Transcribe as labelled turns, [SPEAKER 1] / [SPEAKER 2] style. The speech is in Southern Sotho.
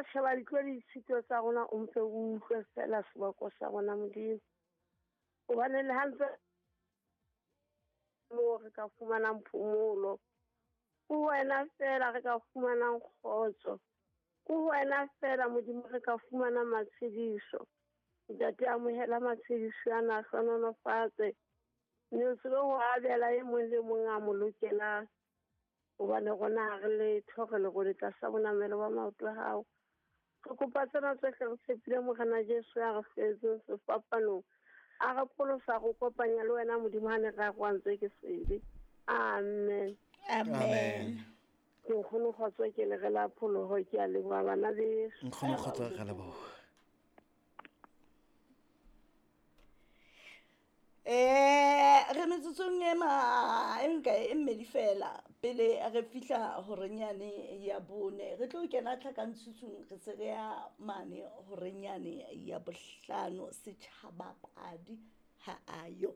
[SPEAKER 1] wa sheba ditlo le ditshito tsa rona, o mpe o utlwe fela seboko sa rona, Modimo. Hobane le ha ntse moo re ka fumanang phomolo, ke wena fela re ka fumanang kgotso, ke wena fela Modimo re ka fumanang matshediso. Ntate, amohela matshediso ana, a hlohonolofatse, mme o tsebe ho abela e mong le mong a mo lokelang. Hobane rona ha re letho, re lerole tlasa bonamelo ba maoto a hao. Re kopa tsena tsohle re tshepile Morena Jesu ya re fetseng sefapanong, a re pholosa, re kopanya le wena Modimo ha ne re arohantswe ke sebe. Amen.
[SPEAKER 2] Amen.
[SPEAKER 1] Ke nkgono kgotso, ke le re la pholoho, ke a leboha bana beso.
[SPEAKER 3] Nkgono kgotso, re leboha.
[SPEAKER 2] Re metsotsong e ma e nka e mmedi fela pele re fihla horenyane ya bone, re tlo kena tlhakantshutshung, re se re ya mane horenyane ya bohlano. Setjhaba padi ha ayo.